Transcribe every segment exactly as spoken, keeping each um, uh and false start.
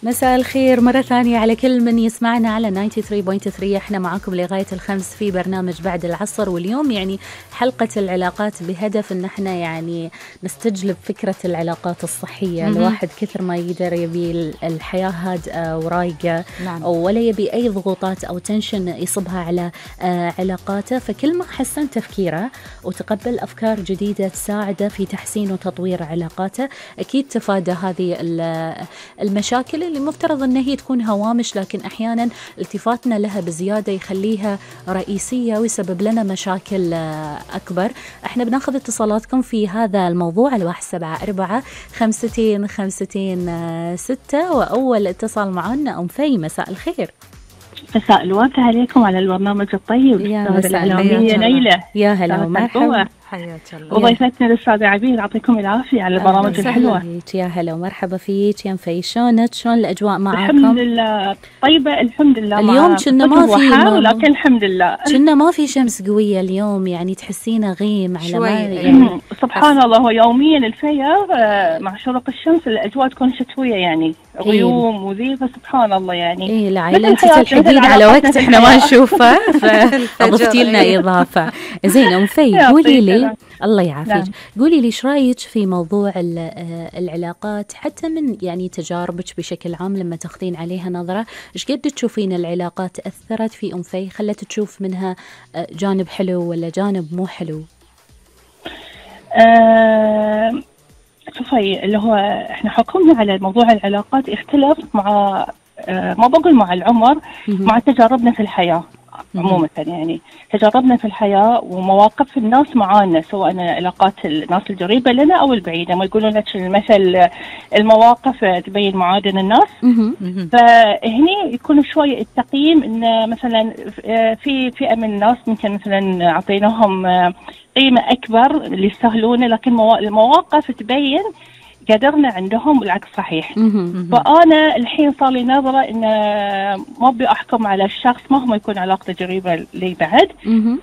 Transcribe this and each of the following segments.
مساء الخير مرة ثانية على كل من يسمعنا على تسعة وتسعين فاصلة ثلاثة. احنا معاكم لغاية الخمس في برنامج بعد العصر، واليوم يعني حلقة العلاقات بهدف ان احنا يعني نستجلب فكرة العلاقات الصحية. م-م. الواحد كثر ما يقدر يبي الحياة هادئة ورايقة، نعم. ولا يبي اي ضغوطات او تنشن يصبها على علاقاته، فكل ما حسن تفكيره وتقبل افكار جديدة تساعده في تحسين وتطوير علاقاته، اكيد تفادى هذه المشاكل اللي مفترض أن هي تكون هوامش، لكن أحيانا التفاتنا لها بزيادة يخليها رئيسية ويسبب لنا مشاكل أكبر. احنا بناخذ اتصالاتكم في هذا الموضوع على واحد سبعة أربعة خمستين خمستين ستة. وأول اتصال معنا أم في. مساء الخير. مساء الورد عليكم على البرنامج الطيب. يا مساء الخير ليلى. يا هلا ومرحبا. حياك الله. وضيفتنا الأستاذة عبير، يعطيكم العافية على البرامج الحلوة. يا هلا ومرحبا فيك يا مفي. شلونك؟ شلون الأجواء معاكم؟ الحمد لله طيبة الحمد لله. اليوم كنا ما في ما لكن الحمد لله كنا ما في شمس قوية اليوم، يعني تحسينا غيم على ما يعني سبحان الله. هو يوميا الفير مع شروق الشمس الأجواء تكون شتوية، يعني غيوم إيه؟ وذي، فسبحان الله يعني إيه العائلة أنت تلحقين على وقت إحنا ما نشوفه، فأضفتي لنا إضافة. زين أم في، قولي لي الله يعافيك، نعم. قولي لي ايش رايك في موضوع العلاقات، حتى من يعني تجاربك بشكل عام لما تاخذين عليها نظره، ايش قد تشوفين العلاقات اثرت في ام في، خلت تشوف منها جانب حلو ولا جانب مو حلو؟ أه شوفي، اللي هو احنا حكمنا على موضوع العلاقات يختلف مع أه ما بقول مع العمر، مع تجاربنا في الحياه عموما. يعني تجاربنا في الحياة ومواقف الناس معانا، سواء علاقات الناس القريبة لنا أو البعيدة. ما يقولون لك المثل المواقف تبين معادن الناس. فهني يكون شوي التقييم إن مثلا في فئة من الناس ممكن مثلا أعطيناهم قيمة أكبر اللي يستاهلونه، لكن المواقف تبين قدرنا عندهم والعكس صحيح. فأنا الحين صار لي نظرة إن ما أبي أحكم على الشخص مهما يكون علاقته قريبة لي بعد.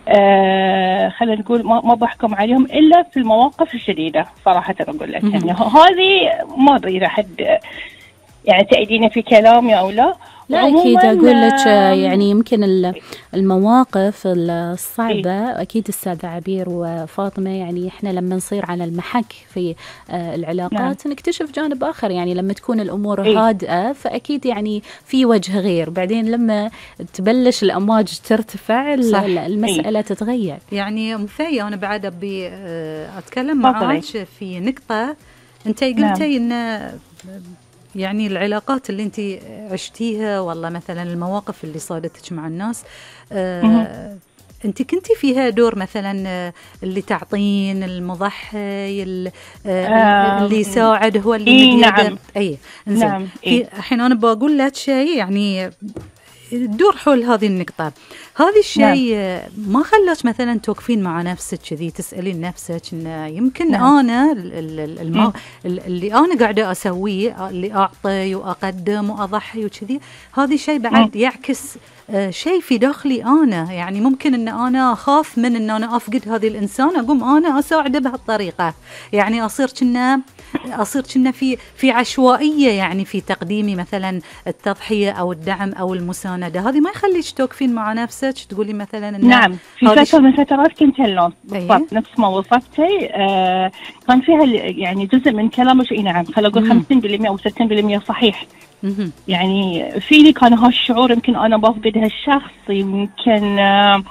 آه خلينا نقول ما بحكم عليهم إلا في المواقف الشديدة صراحة. أقول لك يعني هذه ما أدري إذا حد يعني تأيديني في كلامي أو لا. لا أكيد أقول لك يعني يمكن المواقف الصعبة إيه؟ أكيد السادة عبير وفاطمة، يعني إحنا لما نصير على المحك في العلاقات نعم. نكتشف جانب آخر، يعني لما تكون الأمور إيه؟ هادئة فأكيد يعني في وجه غير، بعدين لما تبلش الأمواج ترتفع المسألة إيه؟ تتغير. يعني مفي أنا بعد أبي أتكلم معاك في نقطة أنت قلتي نعم. إن يعني العلاقات اللي انت عشتيها، والله مثلا المواقف اللي صادتك مع الناس، آه انت كنتي فيها دور مثلا اللي تعطين المضحي اللي, آه اللي يساعد هو اللي إيه نعم. اي نعم. إيه؟ الحين انا بقول لك شيء يعني تدور حول هذه النقطة. هذا الشيء نعم. ما خلاش مثلا توقفين مع نفسك كذي تسألين نفسك إن يمكن نعم. أنا الم... اللي أنا قاعدة أسويه، اللي أعطي وأقدم وأضحي وكذي، هذا الشيء بعد نعم. يعكس آه شيء في داخلي أنا. يعني ممكن إن أنا أخاف من إن أنا أفقد هذه الإنسان، أقوم أنا أساعده بهالطريقة، يعني أصير كنا أصير كنا في في عشوائية يعني في تقديمي مثلا التضحية أو الدعم أو المساندة. هذه ما يخليش توقفين مع نفسك تقولي مثلا نعم. في فترة من فترات كنت هاللون بالضبط نفس ما وصفتي. آه كان فيها يعني جزء من كلامك اي نعم، خلينا نقول خمسين بالمئة أو ستين بالمئة صحيح. مم. يعني فيني كان هالشعور، يمكن أنا بفقد هالشخص، يمكن آه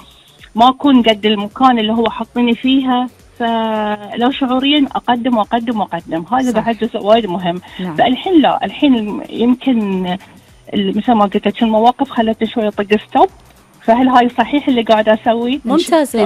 ما أكون قد المكان اللي هو حطني فيها، فلو شعوريا أقدم وأقدم وأقدم. هذا بعد جزء وايد مهم. نعم. فالحين لا، الحين يمكن مثل ما قلت المواقف خلتني شوية طق ستوب، فهل هاي صحيح اللي قاعدة أسوي؟ ممتاز.